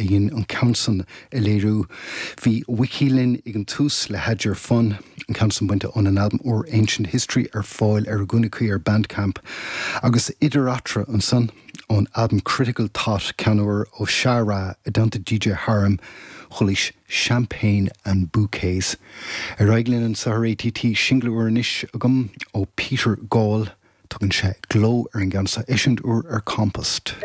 a dhein an ceann san a léiriú. Bhí Wiki linn ag an tús le Had Your Fun, an ceann san bainte óna n-albam úr Ancient History ar fáil ar a gcúinne cuí ar Bandcamp. Agus idir eatarthu ansan, ón albam Critical Thought, ceann úr ó Sha Ra i dteannta DJ Harem, chualaís Champagne and Bouquets. Ar aghaidh linn anseo ar ATT, singil úr anois agam ó Peter Gall. Tugann sé Glow ar an gceann seo, eisiúint úr ar Compost.